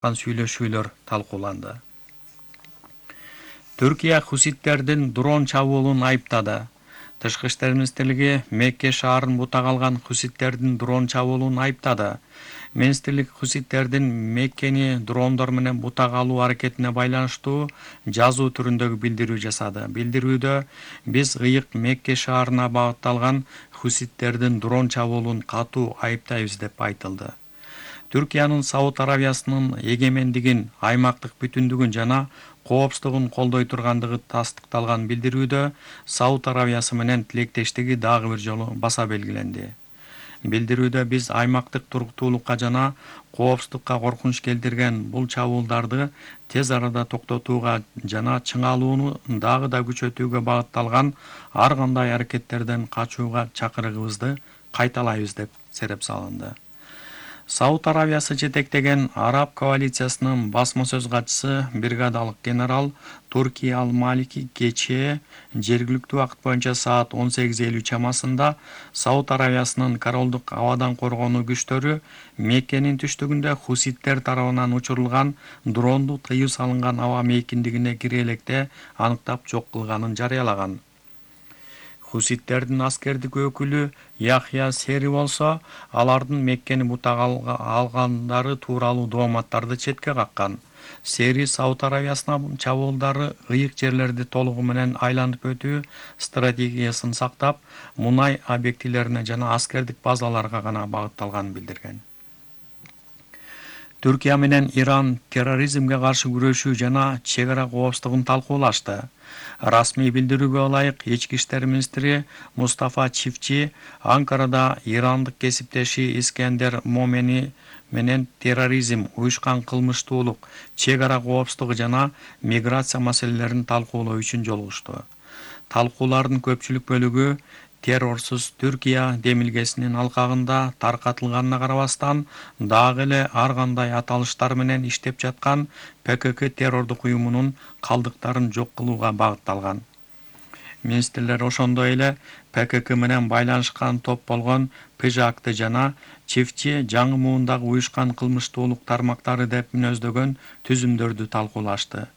сүйлөшүүлөр талкууланды. Түркия хуситтердин дрон чабуулун айыптады. Тышкы иштер министрлиги Мекке шаарын бутак алган хуситтердин дрон чабуулун айыптады. Министрлик хуситтердин Меккени дрондор менен бутак алуу аракетине байланыштуу жазуу түрүндөгү билдирүү жасады. Билдирүүдө биз ыйык Мекке шаарына багытталган хуситтердин дрон чабуулун катуу айыптайбыз деп айтылды. Түркиянын Сауд Аравиясынын эгемендигин, аймактык бүтүндүгүн жана коопсуздугун колдой тургандыгы тастыкталган билдирүүдө Сауд Аравиясы менен тилектештиги дагы бир жолу баса белгиленди. Билдирүүдө биз аймактык туруктуулукка жана коопсуздукка коркунуч келтирген бул чабуулдарды тез арада токтотууга жана чыңалууну дагы да күчөтүүгө багытталган ар кандай аракеттерден качууга чакырыгыбызды кайталайбыз деп сереп салынды. Сауд Аравиясы жетектеген Араб коалициясынын басма сөз катчысы бригадалык генерал Турки Ал-Малики кечээ жергиликтүү убакыт боюнча саат 18:50 чамасында Сауд Аравиясынын королдук абадан коргонуу күчтөрү Меккенин түштүгүндө хуситтер тарабынан учурулган дронду тыюу салынган аба мейкиндигине кире электе аныктап жок кылганын жарыялаган. Хуситтердин аскердик өкүлү Яхья Сери болсо, алардын Меккени бутак алгандары тууралуу дооматтарды четке каккан. Сери Сауд Аравиясына чабуулдары ыйык жерлерди толугу менен айланып өтүү стратегиясын сактап, мунай объектилерине жана аскердик базаларга гана багытталганын билдирген. Түркия менен Иран терроризмге каршы күрөшүү жана чек ара коопсуздугун талкуулашты. Расмий билдирүүгө ылайык ички иштер министри Мустафа Чифчи Анкарада ирандык кесиптеши Искендер Момени менен терроризм, уюшкан кылмыштуулук, чек ара коопсуздугу жана миграция маселелерин талкуулоо үчүн жолугушту. Талкуулардын көпчүлүк бөлүгү террорсуз Түркия демилгесинин алкагында таркатылганына карабастан, дагы эле ар кандай аталыштар менен иштеп жаткан ПКК террордук уюмунун калдыктарын жок кылууга багытталган. Министрлер ошондой эле ПКК менен байланышкан топ болгон ПЖАКты жана Чифчи жаңы муундагы уюшкан кылмыштуулук тармактары деп мүнөздөгөн түзүмдөрдү талкуулашты.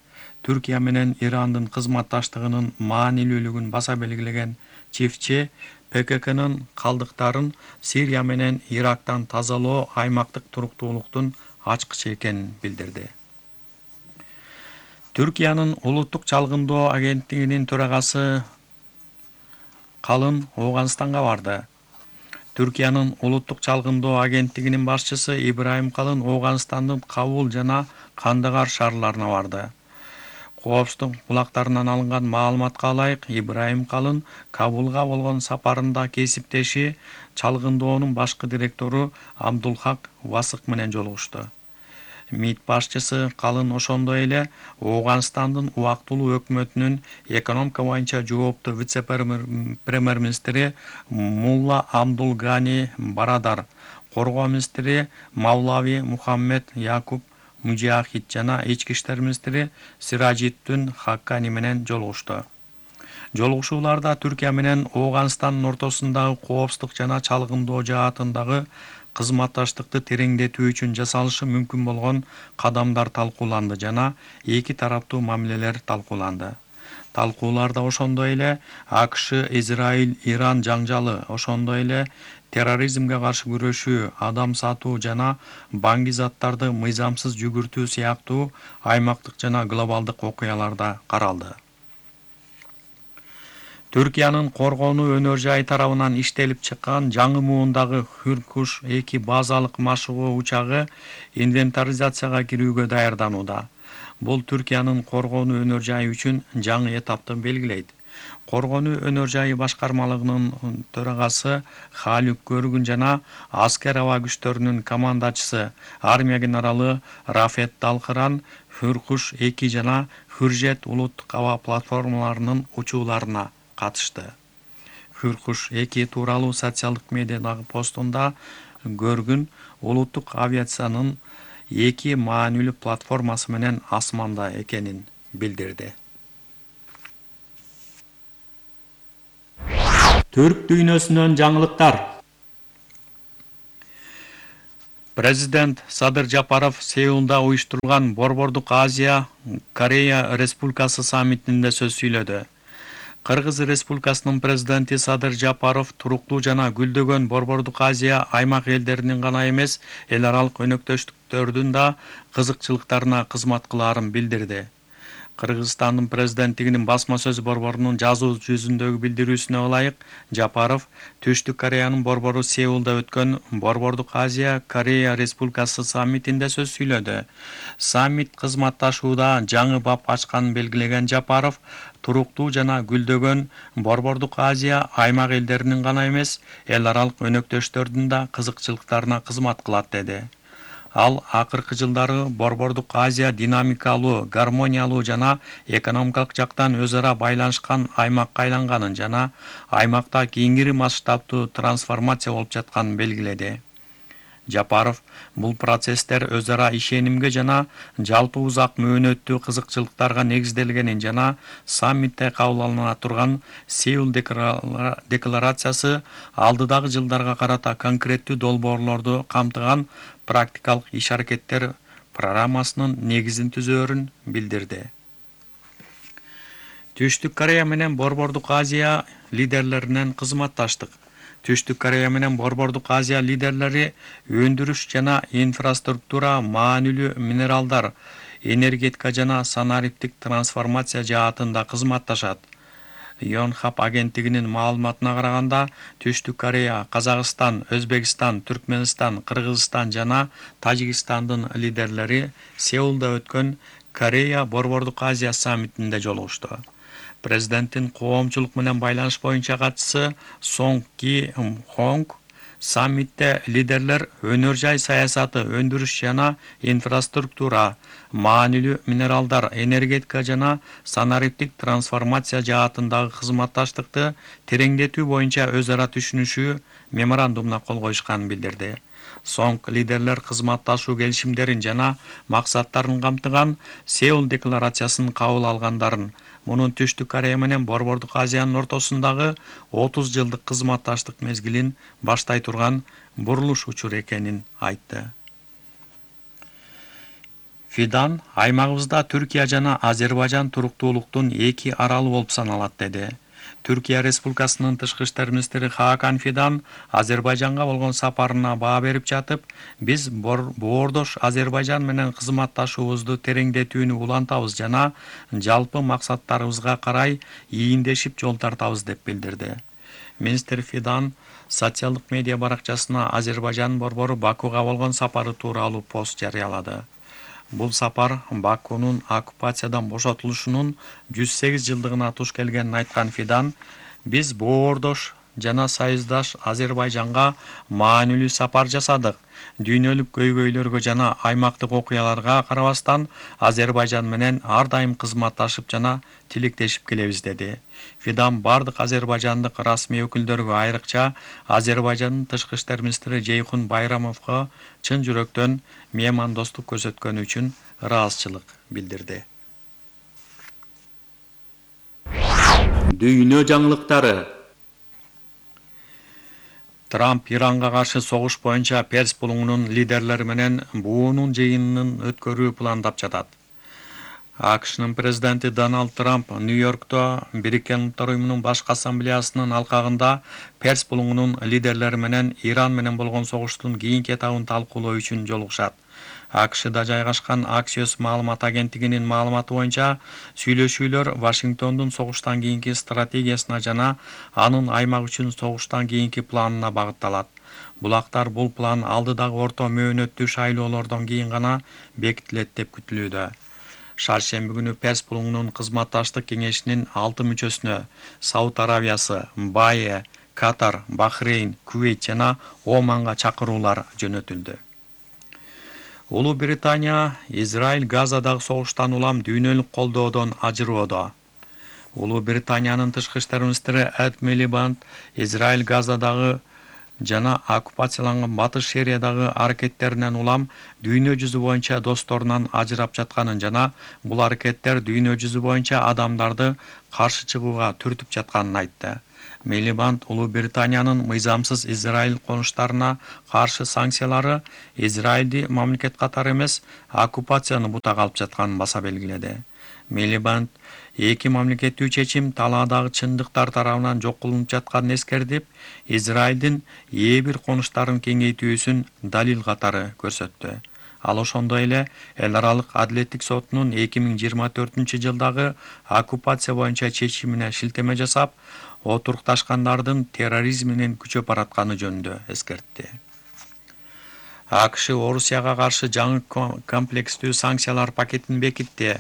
Түркия менен Ирандын кызматташтыгынын маанилүүлүгүн баса белгилеген Чифчи ПККнын калдыктарын Сирия менен Ирактан тазалоо аймактык туруктуулуктун ачкычы экенин билдирди. Түркиянын улуттук чалгындоо агенттигинин төрагасы Калын Ооганстанга барды. Түркиянын улуттук чалгындоо агенттигинин башчысы Ибраим Калын Ооганстандын Кабул жана Кандагар шаарларына барды. Коопсуздук булактарынан алынган маалыматка ылайык, Ибраим Калын Кабулга болгон сапарында кесиптеши чалгындоонун башкы директору Абдулхак Васык менен жолугушту. МИД башчысы Калын ошондой эле Ооганстандын убактылуу өкмөтүнүн экономика боюнча жооптуу вице-премьер-министри Мулла Абдул Гани Барадар, коргоо министри Мавлави Мухаммед Якуб Мужахид жана ички иштер министри Сираджиддин Хаккани менен жолугушту. Жолугушууларда Түркия менен Ооганстандын ортосундагы коопсуздук жана чалгындоо жаатындагы кызматташтыкты тереңдетүү үчүн жасалышы мүмкүн болгон кадамдар талкууланды жана эки тараптуу мамилелер талкууланды. Талкууларда ошондой эле АКШ, Израиль, Иран жаңжалы, ошондой эле терроризмге каршы күрөшүү, адам сатуу жана баңги заттарды мыйзамсыз жүгүртүү сыяктуу аймактык жана глобалдык окуялар да каралды. Түркиянын коргонуу өнөр жайы тарабынан иштелип чыккан жаңы муундагы Хүркуш-2 базалык машыгуу учагы инвентаризацияга кирүүгө даярданууда. Бул Түркиянын коргонуу өнөр жайы үчүн жаңы этапты белгилейт. Коргонуу өнөр жайы башкармалыгынын төрагасы Халюк Көргүн жана аскер аба күчтөрүнүн командачысы армия генералы Рафет Далкыран Хүркуш-2 жана Хүржет улуттук аба платформаларынын учууларына катышты. Хүркуш-2 тууралуу социалдык медиадагы постунда Көргүн улуттук авиациянын 2 маанилүү платформасы менен асманда экенин билдирди. Түрк дүйнөсүнөн жаңылыктар. Президент Садыр Жапаров Сеулда уюштурулган Борбордук Азия Корея Республикасы саммитинде сөз сүйлөдү. Кыргыз Республикасынын президенти Садыр Жапаров туруктуу жана гүлдөгөн Борбордук Азия аймак элдеринин гана эмес, эл аралык өнөктөштүктөрдүн да кызыкчылыктарына кызмат кылаарын билдирди. Кыргызстандын президенттигинин басма сөз борборунун жазуу жүзүндөгү билдирүүсүнө ылайык, Жапаров Түштүк Кореянын борбору Сеулда өткөн Борбордук Азия Корея Республикасы саммитинде сөз сүйлөдү. Саммит кызматташууда жаңы бап ачканын белгилеген Жапаров, туруктуу жана гүлдөгөн Борбордук Азия аймак элдеринин гана эмес, эл аралык өнөктөштөрдүн да кызыкчылыктарына кызмат кылат деди. Ал акыркы жылдары Борбордук Азия динамикалуу, гармониялуу жана экономикалык жактан өз ара байланышкан аймакка айланганын жана аймакта кеңири масштабтуу трансформация болуп жатканын белгиледи. Жапаров бул процесстер өз ара ишенимге жана жалпы узак мөөнөттүү кызыкчылыктарга негизделгенин жана саммитте кабыл алына турган Сеул декларациясы алдыдагы жылдарга карата конкреттүү долбоорлорду камтыган практикалык иш-аракеттер программасынын негизин түзөөрүн билдирди. Түштүк Корея менен Борбордук Азия лидерлеринен кызматташтык. Түштүк Корея менен Борбордук Азия лидерлери өндүрүш жана инфраструктура, маанилүү минералдар, энергетика жана санариптик трансформация жаатында кызматташат. Yonhap агенттигинин маалыматына караганда, Түштүк Корея, Казакстан, Өзбекстан, Түркмөнстан, Кыргызстан жана Тажикстандын лидерлери Сеулда өткөн Корея Борбордук Азия саммитинде жолугушту. Президенттин коомчулук менен байланыш боюнча катчысы Сонг Ки Хонг саммитте лидерлер өнөр жай саясаты, өндүрүш жана инфраструктура, маанилүү минералдар, энергетика жана санариптик трансформация жаатындагы кызматташтыкты тереңдетүү боюнча өз ара түшүнүшүү меморандумуна кол коюшканын билдирди. Сонг лидерлер кызматташуу келишимдерин жана максаттарын камтыган Сеул декларациясын кабыл алгандарын, мунун Түштүк Корея менен Борбордук Азиянын ортосундагы 30 жылдык кызматташтык мезгилин баштай турган бурулуш учуру экенин айтты. Фидан аймагыбызда Түркия жана Азербайжан туруктуулуктун эки аралы болуп саналат деди. Түркия Республикасынын тышкы иштер министри Хакан Фидан Азербайжанга болгон сапарына баа берип жатып, биз боордош Азербайжан менен кызматташуубузду тереңдетүүнү улантабыз жана жалпы максаттарыбызга карай ийиндешип жол тартабыз деп билдирди. Министр Фидан социалдык медиа баракчасына Азербайжан борбору Бакуга болгон сапары тууралуу пост жарыялады. Бул сапар Бакунун оккупациядан бошотулушунун 108 жылдыгына туш келгенин айткан Фидан, биз боордош жана союздаш Азербайжанга маанилүү сапар жасадык. Дүйнөлүк көйгөйлөргө жана аймактык окуяларга карабастан Азербайжан менен ар дайым кызматташып жана тилектешип келебиз деди. Фидан бардык азербайжандык расмий өкүлдөргө, айрыкча Азербайжандын тышкы иштер министри Жейхун Байрамовго чын жүрөктөн меймандостук көрсөткөнү үчүн ыраазычылык билдирди. Дүйнө жаңылыктары. Трамп Иранга каршы согуш боюнча Перс булуңунун лидерлери менен буунун жыйынын өткөрүү пландап жатат. АКШнын президенти Дональд Трамп Нью-Йоркто Бириккен Улуттар уюмунун башкы ассамблеясынын алкагында Перс булуңунун лидерлери менен Иран менен болгон согуштун кийинки этабын талкуулоо үчүн жолугушат. АКШда жайгашкан Axios маалымат агенттигинин маалыматы боюнча, сүйлөшүүлөр Вашингтондун согуштан кийинки стратегиясына жана анын аймак үчүн согуштан кийинки планына багытталат. Булактар бул план алдыдагы орто мөөнөттүү шайлоолордон кийин гана бекитилет деп күтүлүүдө. Шаршемби күнү Перс булуңунун кызматташтык кеңешинин 6 мүчөсүнө Сауд Аравиясы, Бае, Катар, Бахрейн, Кувейт жана Оманга чакыруулар жөнөтүлдү. Улуу Британия Израиль Газадагы согуштан улам дүйнөлүк колдоодон ажыроодо. Улуу Британиянын тышкы иштер министри Эд Милибанд Израиль Газадагы жана оккупацияланган Батыш Сириядагы аракеттеринен улам дүйнө жүзү боюнча досторунан ажырап жатканын жана бул аракеттер дүйнө жүзү боюнча адамдарды каршы чыгууга түртүп жатканын айтты. Милибанд Улуу Британиянын мыйзамсыз Израиль конуштарына каршы санкциялары Израилди мамлекет катары эмес, оккупацияны бутак алып жатканын баса белгиледи. Милибанд эки мамлекеттүү чечим талаадагы чындыктар тарабынан жок кылынып жатканын эскертип, Израилдин ээ бир конуштарын кеңейтүүсүн далил катары көрсөттү. Ал ошондой эле Эл аралык адилеттик сотунун 2024-жылдагы оккупация боюнча чечимине шилтеме жасап, отурукташкандардын терроризм менен күчөп баратканы жөнүндө эскертти. АКШ Орусияга каршы жаңы комплекстүү санкциялар пакетин бекитти.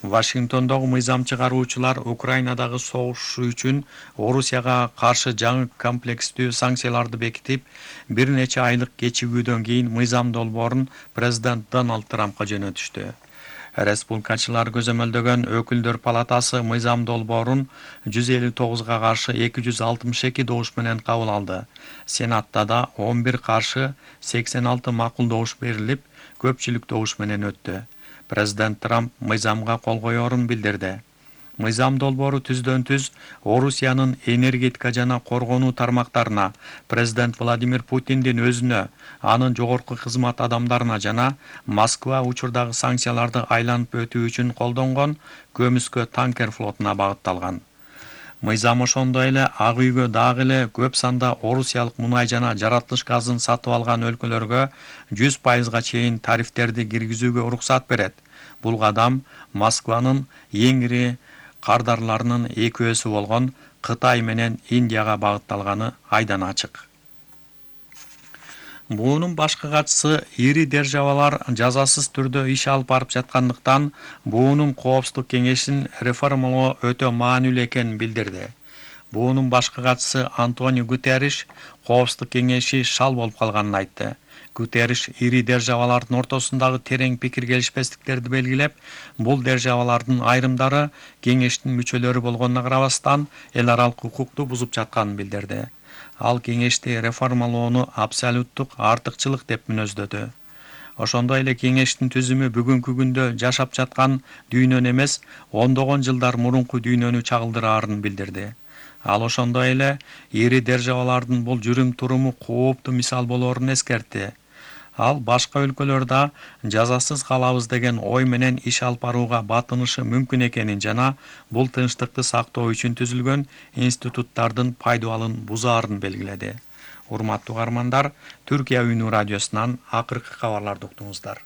Вашингтондогу мыйзам чыгаруучулар Украинадагы согуш үчүн Орусияга каршы жаңы комплекстүү санкцияларды бекитип, бир нече айлык кечигүүдөн кийин мыйзам долбоорун президент Дональд Трампка жөнөтүштү. Республикачылар көзөмөлдөгөн өкүлдөр палатасы мыйзам долбоорун 159 каршы 262 добуш менен кабыл алды. Сенатта да 11 каршы 86 макулдош берилип, көпчүлүк добуш менен өттү. Президент Трамп мыйзамга кол коерун билдирди. Мыйзам долбоору түздөн-түз Орусиянын энергетика жана коргонуу тармактарына, президент Владимир Путиндин өзүнө, анын жогорку кызмат адамдарына жана Москва учурдагы санкцияларды айланып өтүү үчүн колдонгон көмүскө танкер флотуна багытталган. Мыйзам ошондой эле Ак үйгө дагы эле көп санда орусиялык мунай жана жаратылыш газын сатып алган өлкөлөргө 100% чейин тарифтерди киргизүүгө уруксат берет. Бул кадам Москванын эң ири кардарларынын 2 болгон Кытай менен Индияга багытталганы айдан ачык. Буунун башкы катчысы ири державалар жазасыз түрдө иш алып барып жаткандыктан буунун коопсуздук кеңешин реформалоо өтө маанилүү экенин билдирди. Буунун башкы катчысы Антонио Гутерриш коопсуздук кеңеши шал болуп калганын айтты. Гутерриш ири державалардын ортосундагы терең пикир келишпестиктерди белгилеп, бул державалардын айрымдары кеңештин мүчөлөрү болгонуна карабастан эл аралык укукту бузуп жатканын билдирди. Ал кеңешти реформалоону абсолюттук артыкчылык деп мүнөздөдү. Ошондой эле кеңештин түзүмү бүгүнкү күндө жашап жаткан дүйнөнү эмес, ондогон жылдар мурунку дүйнөнү чагылдыраарын билдирди. Ал ошондой эле ири державалардын бул жүрүм-туруму кооптуу мисал болоорун эскертти. Ал башка өлкөлөрдө жазасыз калабыз деген ой менен иш алып барууга батынышы мүмкүн экенин жана бул тынчтыкты сактоо үчүн түзүлгөн институттардын пайдаланын бузаарын белгиледи. Урматтуу угармандар, Түркия Үнү радиосунан акыркы кабарларды уктуңуздар.